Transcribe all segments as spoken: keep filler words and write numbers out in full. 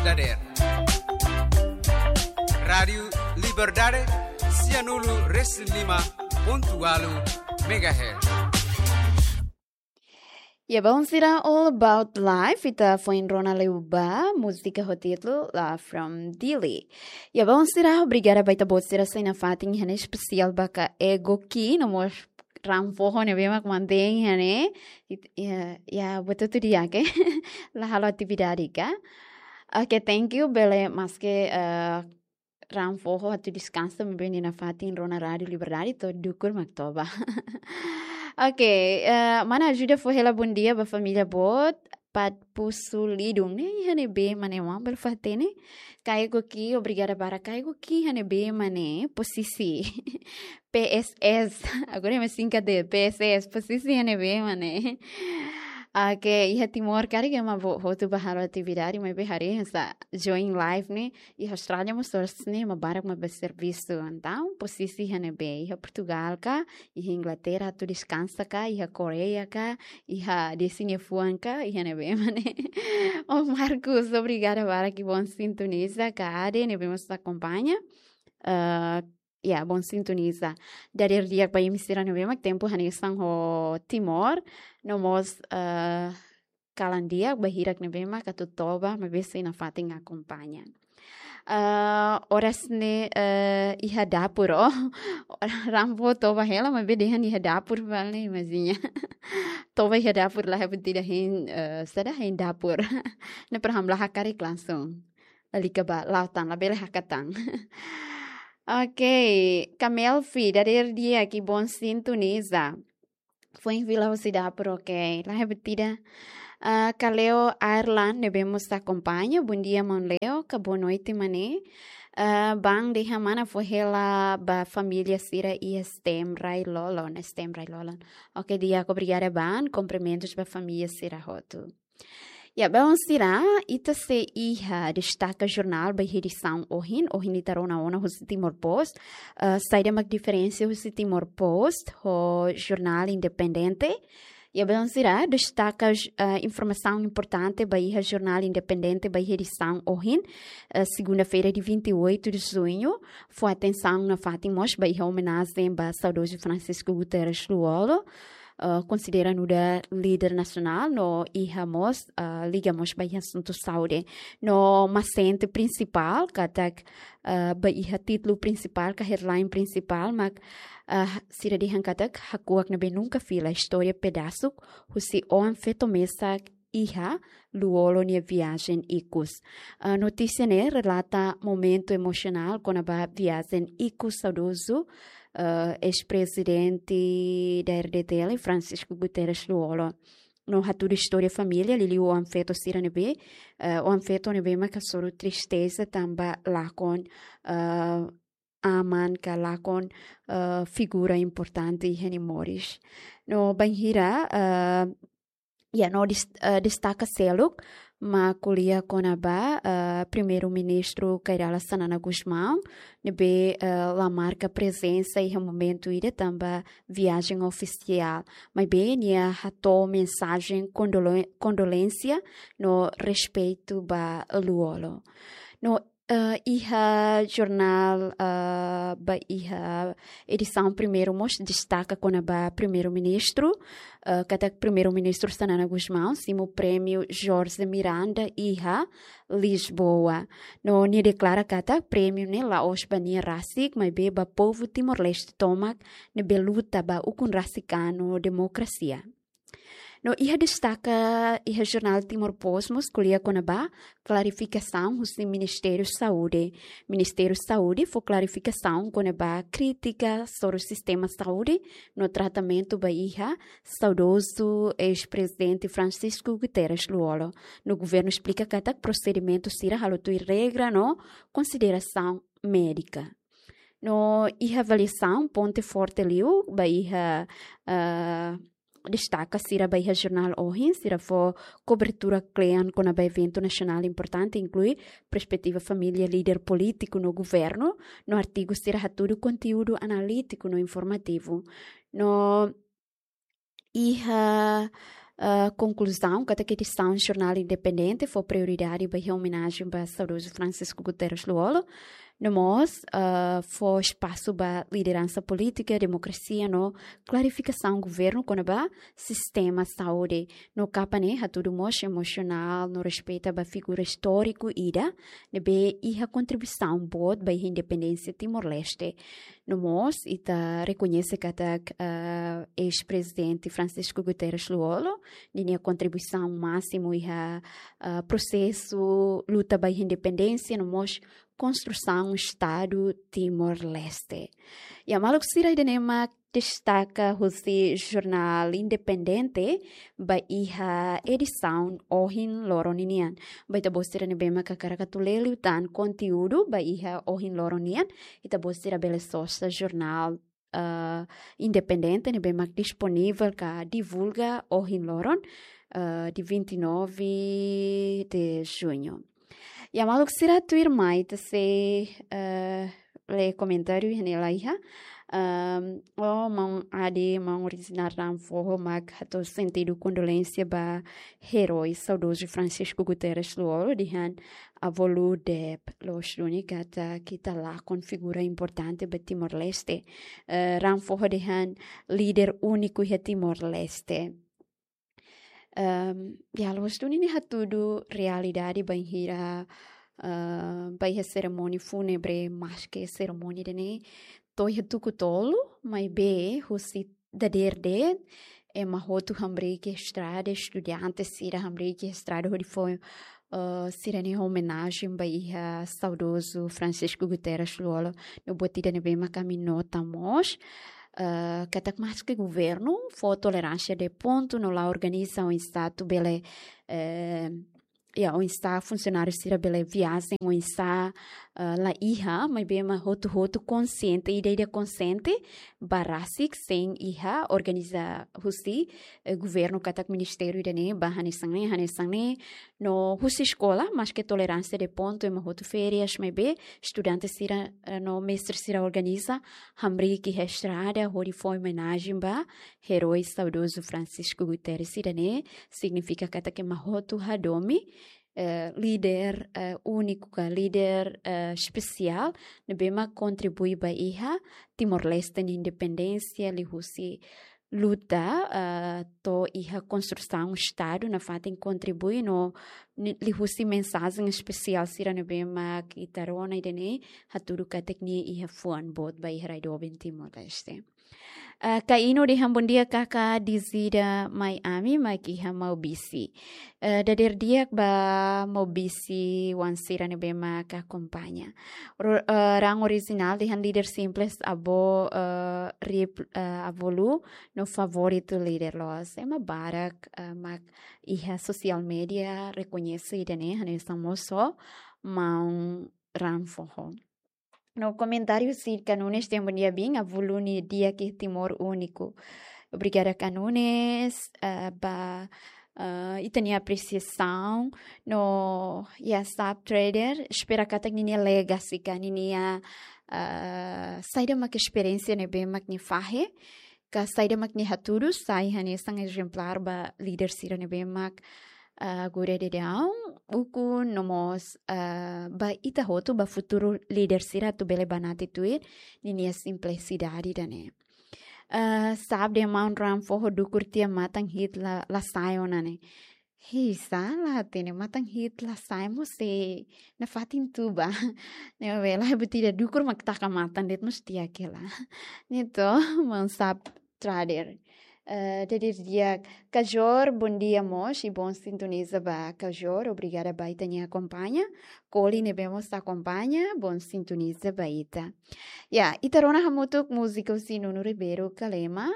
Dadeer. Rádiu Liberdade, sianulu resin lima pontu ualu megahertz. Ya, baun sira, All About Life, ita foin rona liu ba múzika ho títulu Love from Dili. Ya, baun sira, obrigada ba ita-boot sira sei nafatin iha ne'e, espesiál ba ka Ego Ki, no mós Raan Foho ne'ebé mak mantein iha ne'e. It-, ya, ya, buat hotu di'ak, eh. La halo atividade ka. Oke, thank you, bele maske, eh, Raan Foho atu deskansa, maibé nia nafatin rona Rádiu Liberdade, to'o dukur mak toba. Oke, eh, mana ajuda fó hela bondia ba família boot, Pat Pusu Lidung ne'e, iha ne'ebé mak ne'e, maun bele fó-hatene. Ka Ego Ki, obrigada barak ka Ego Ki, iha ne'ebé mak ne'e, posisi. P S S, agora ema singkat de'it, P S S, posisi iha ne'ebé mak ne'e. Oke, iha Timor karik ema boot hotu bá halo atividade, maibé haree hanesan join live ne'e, iha Austrália mós oras ne'e ema barak mak bá servisu. Entaun, posisi iha ne'ebé, iha Portugal ka, iha Inglaterra atu deskansa ka, iha Koreia ka, iha Desi nia fuan ka, iha ne'ebé mak ne'e. Oh, Marcos, obrigada barak, que bom sintoniza, ka Ade, ne'ebé mós akompaña. Ah, ya, bom sintoniza. Dadeer di'ak ba imi sira ne'ebé mak tempu hanesan ho Timor, no mós, eh, kalan di'ak ba hirak ne'ebé mak atu toba, maibé sei nafatin akompaña. Eh, oras ne'e, eh, iha dapur, oh. Raan Foho toba hela, maibé dehan iha dapur, vale, imajina. Toba iha dapur, la iha buat ida hein, eh, saida hein dapur. Ne'e para hamlaha karik langsung. Lalika ba la'o tan, labele hakat tan. Oke, Kamelfi, dadeer di'ak, que bom sintoniza. Foin fila husi dapur, oke. La iha buat ida. Ah, Kaleo Ireland, ne'ebé mós akompaña. Bom dia, maun Leo, ka boa noite, maun ne'e. Ah, bang dehan mana fó hela ba família sira iha STEM Rai Lolon, STEM Rai Lolon. Oke, di'ak, obrigada bang, kumprimentus ba família sira hotu. Ya, baun sira, ita sei iha destaka jornál ba iha edisaun ohin, ohin ita rona ona husi Timor Post, eh, saida mak diferensa husi Timor Post ho jornál independente. Ya, baun sira, destaka, eh, informasaun importante ba iha jornál independente ba iha edisaun ohin, eh, segunda-feira, dia vinte e oito de junho, fó atensaun nafatin mós ba iha omenajen ba saudozu Francisco Guterres Lú-Olo, eh, konsidera nu'udar líder nasionál no iha mós, eh, liga mós ba iha asuntu saúde. No masente prinsipál, katak, eh, ba iha títulu prinsipál, ka headline prinsipál, mak, eh, sira dehan katak hakuak ne'ebé nunka fila, istória pedasuk husi oan-feto mesak iha Lú-Olo nia viajen ikus. Ah, notísia ne'e relata momentu emosionál kona-ba viajen ikus saudozu, ah, eis-prezidente da RDTL, Francisco Guterres Lú-Olo. No hatudu istória família, liuliu oan-feto sira ne'ebé, ah, oan-feto ne'ebé mak hasoru tristeza tanba lakon, ah, aman ka lakon, ah, figura importante iha nia moris. No bainhira, ah, ya, no dis-, eh, destaka seluk mak ko'alia kona-ba, eh, Primeiru-Ministru Kay Rala Xanana Gusmão, ne'ebé, eh, la marka prezensa iha momentu ida tanba viajen ofisiál. Maibé nia hato'o mensajen kondole-, kondolénsia no respeitu ba Lú-Olo. No, eh, iha jornál, eh, ba iha edisaun primeiru mós destaka kona-ba Primeiru-Ministru, eh, katak Primeiru-Ministru Xanana Gusmão simu prémiu Jorge Miranda iha Lisboa. No nia deklara katak prémiu ne'e la'ós ba nia rasik, maibé ba povu Timor-Leste tomak ne'ebé luta ba ukun rasik ka no demokrasia. No iha destaka iha jornál Timor Post mós ko'alia kona-ba klarifikasaun husi Ministériu Saúde. Ministériu Saúde fó klarifikasaun kona-ba krítika soru sistema saúde no tratamentu ba iha saudozu eis-prezidente Francisco Guterres Lú-Olo. No governu esplika katak prosedimentu sira halo tuir regra no konsiderasaun médika. No iha avaliasaun ponte forte liu ba iha, eh, destaka sira ba iha jornál ohin, sira fó kobertura kle'an kona-ba eventu nasionál importante, inklui perspetiva família, líder polítiku no governu, no artigu sira hatudu konteúdu analítiku no informativu. No iha, ah, konkluzaun katak edisaun jornál independente fó prioridade ba iha omenajen ba saudozu Francisco Guterres Lú-Olo, no mós, ah, fó espasu ba lideransa polítika, demokrasia no klarifikasaun governu kona-ba sistema saúde. No kapa ne'e hatudu mós emosionál no respeita ba figura istóriku ida ne'ebé iha kontribuisaun boot ba iha independénsia Timor-Leste. No mós ita rekoñese katak, ah, eis-prezidente Francisco Guterres Lú-Olo ninia kontribuisaun másimu iha, ah, prosesu luta ba iha independénsia no mós konstrusaun Estadu Timor-Leste. Iha maluk sira, ida-ne'e mak destaka husi jornál independente ba iha edisaun ohin loron ninian. Ba ita-boot sira ne'ebé mak hakarak atu lee liután konteúdu ba iha ohin loron nian, ita-boot sira bele sosa jornál, ah, independente ne'ebé mak disponivel ka divulga ohin loron, ah, dia vinte e nove de junho. Iha maluk sira, tuirmai ita sei, eh, lee komentáriu iha ne'e laiha. Ahm, o maun Ade, maun Orijinál Raan Foho mak hato'o sentidu kondolénsia ba eroi saudozu Francisco Guterres Lú-Olo, dehan avó Lú de'it, loos duni katak ita lakon figura importante ba Timor-Leste. Eh, Raan Foho dehan líder úniku iha Timor-Leste. Ehm, ya, loos duni ne'e hatudu realidade bainhira, eh, ba iha serimónia fúnebre, maske serimónia ida-ne'e to'o iha tuku tolu, maibé husi dadeer de'it ema hotu hamriik iha estrada, estudante sira hamriik iha estrada hodi fó, eh, sira-nia omenajen ba iha saudozu Francisco Guterres Lú-Olo. No buat ida ne'ebé mak ami nota mós, eh, katak maske governu fó toleránsia de pontu no la organiza oinsá atu bele, eh, ya, oinsá funsionáriu sira bele viajen, oinsá, eh, la iha, maibé ema hotu-hotu konsiente, ida-ida konsiente, ba rasik sein iha organiza husi, eh, governu katak ministériu ida-ne'e ba hanesan ne'e, hanesan ne'e, no husi eskola, maske toleránsia de pontu, ema hotu férias, maibé estudante sira, eh, no mestre sira organiza hamriik iha estrada hodi fó omenajen ba eroi saudozu Francisco Guterres. Ida-ne'e signifika katak ema hotu hadomi, eh, líder, eh, úniku ka líder, eh, espesiál ne'ebé mak kontribui ba iha Timor-Leste nia independénsia, liuhusi luta, eh, to'o iha konstrusaun Estadu nafatin, kontribui no ni-, liuhusi mensajen espesiál sira ne'ebé mak ita rona ida-ne'e, hatudu katak nia iha fuan boot ba iha rai doben Timor-Leste. Eh, Kaino dehan bondia kaka, dezida mai ami mak iha Maubisse. Eh, dadeer di'ak ba Maubisse-oan sira ne'ebé mak akompaña. Ro-, eh, Raan Orijinál dehan líder simples avó, eh, rip, eh, avó Lú no favoritu líder loos. Ema barak, eh, mak iha sosiál média rekoñese ida-ne'e, hanesan mós ho maun Raan Foho. No komentáriu husi Kanunes dehan bondia biin, avó Lú nia di'ak iha Timor úniku. Obrigada Kanunes, eh, ba, eh, ita-nia apresiasaun. No, ya, Sap Trader, espera katak ninia legacy ka ninia, eh, saida mak esperiénsia ne'ebé mak nia fahe, ka saida mak nia hatudu, sai hanesan ezemplár ba líder sira ne'ebé mak, ah, agora daudaun, ukun no mós, ah, ba ita hotu, ba futuru líder sira atu bele banati tuir ninia simplisidade ida-ne'e. Ah, Sap dehan maun Raan Foho dukur tiha matan hi'it la, la sai ona ne'e. Hei, sala, hatene matan hi'it la sai mós sei nafatin tuba. Ne'ebé la buat ida dukur mak taka matan de'it mós tiha hela. Ne'e to, maun Sap Trader. Eh, dadeer di'ak Kajor, bondia mós, i bom sintoniza ba Kajor, obrigada ba ita-nia akompaña. Koli ne'ebé mós akompaña, bom sintoniza ba ita. Ya, ita rona hamutuk múzika husi Nuno Ribeiro Kalema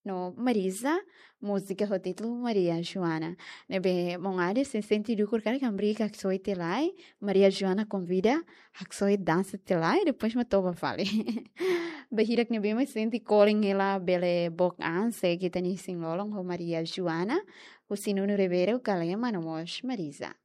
no Marisa, múzika ho títulu Maria Joana. Ne'ebé maun Ade, se sente dukur karik hamriik haksoit tiha lai, Maria Joana konvida, haksoit dansa tiha lai, depois mak toba fali. Ba hirak ne'ebé mak sente kolen hela bele book an, segue ita-nia isin-lolon ho Maria Joana, husi Nuno Ribeiro Kalema no mós Marisa.